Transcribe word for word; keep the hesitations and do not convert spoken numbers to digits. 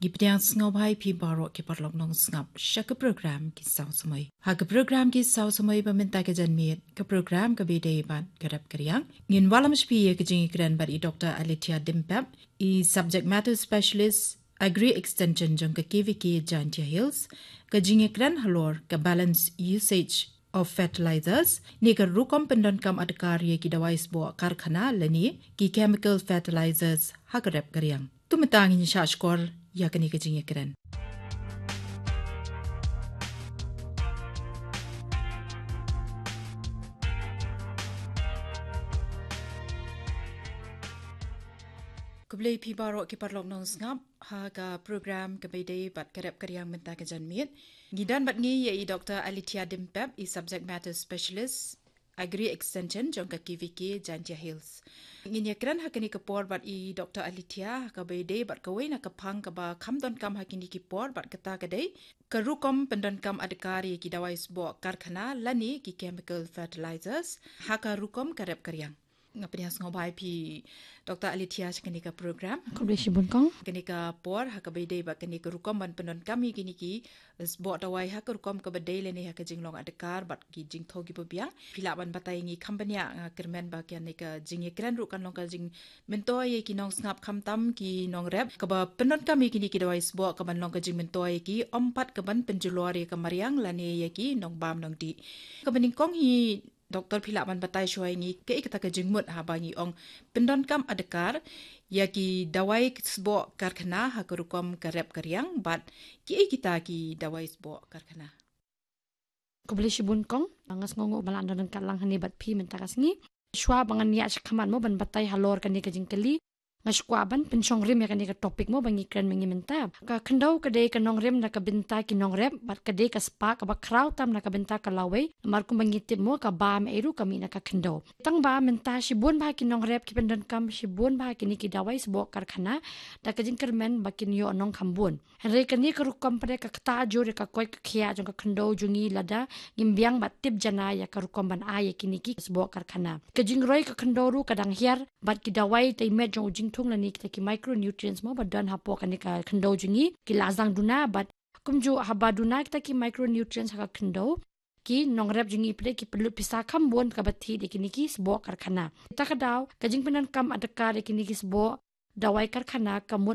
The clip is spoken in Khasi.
Ngi pdiang sngewbha ïa phi baroh ki paralok nongsngap sha ka program Ki Saw Samoi. Ha ka program Ki Saw Samoi ba mynta ka janmiet, ka program kaba ïadei bad ka rep ka riang, ngin wallam sha phi ïa ka jingïakren bad i Doctor Alethea Dimpep, i Subject Matter Specialist, Agri Extension jong ka K V K Jaintia Hills, ka jingïakren halor ka Balanced Usage of Fertilizers, ne ka rukom pyndonkam adkar ïa ki dawai sboh karkhana lane ki chemical fertilizers ha ka rep ka riang. To mynta ngin shah shkor ïa kane ka jingïakren. Khublei phi baroh ki paralok nongsngap ha ka program kaba ïadei bad ka rep ka riang mynta ka janmiet. Ngi don bad ngi ïa i Doctor Alethea Dimpep, i Subject Matter Specialist, Agri Extension jong ka K V K Jaintia Hills. Ngin ïakren ha kane ka por bad i Doctor Alethea ha kaba ïadei bad kawei na ka phang kaba kham donkam ha kine ki por bad kata ka dei ka rukom pyndonkam adkar ïa ki dawai sboh karkhana lane ki chemical fertilizers ha ka rukom ka rep ka riang. Nga pdiang sngewbha ïa phi Doctor Alethea sha kane ka program. Khublei shibun kong. Kane ka por ha kaba ïadei bad kane ka rukom ban pyndonkam ïa kine ki sboh dawai ha ka rukom kaba dei lane ha ka jinglong adkar bad ki jingthoh kiba biang. Phi lah ban batai ïa ngi kham bniah, nga kyrmen ba kane ka jingïakren ruh kan long ka jingmyntoi ïa ki nongsngap khamtam ki nongrep kaba pyndonkam ïa kine ki dawai sboh ka ban long ka jingmyntoi ïa ki, ym pat ka ban pynjulor ïa ka mariang lane ïa ki nongbam nongdih. Kaba nyngkong hi Doctor, phi lah ban batai shuwa ïa ngi kaei kata ka jingmut haba ngi ong pyndonkam adkar ïa ki dawai sboh karkhana ha ka rukom ka rep ka riang bad kiei kita ki dawai sboh karkhana? Khublei shibun kong, nga sngewnguh ba la don ryngkat lang hangne bad phi mynta ka sngi. Shuwa ba ngan ïa shah khmat mo ban batai halor kane ka jingkylli, nga sngewkwah ban pynshong rim ïa kane ka topic mo ba ngi kren ma ngi mynta. Ka khyndew ka dei ka nongrim na ka bynta ki nongrep bad ka dei ka spah kaba khraw tam na ka bynta ka lawei. Namar kumba ngi tip mo, ka bam ei ruh ka mih na ka khyndew. Tang ba mynta shibun bha ki nongrep ki pyndonkam shibun bha kine ki dawai sboh karkhana da ka jingkyrmen ba kin ïoh nongkham bun. Hynrei kane ka rukom pat ka ktah jur ïa ka koit ka khiah jong ka khyndew jong ngi lada ngim biang bad tip janai ïa ka rukom ban ai ïa kine ki sboh karkhana. Ka jingroi ka khyndew ruh ka dang hiar bad ki dawai tei met jong u jingthung lane kita ki micronutrients mo ba don hapoh kane ka khyndew jong ngi ki la sdang duna bad kumjuh haba duna kita ki micronutrients ha ka khyndew, ki nongrep jong ngi pat ki pynlut pisa kham bun kaba thied ïa kine ki sboh karkhana. Kata ka daw ka jingpyndonkam adkar ïa kine ki sboh dawai karkhana ka mut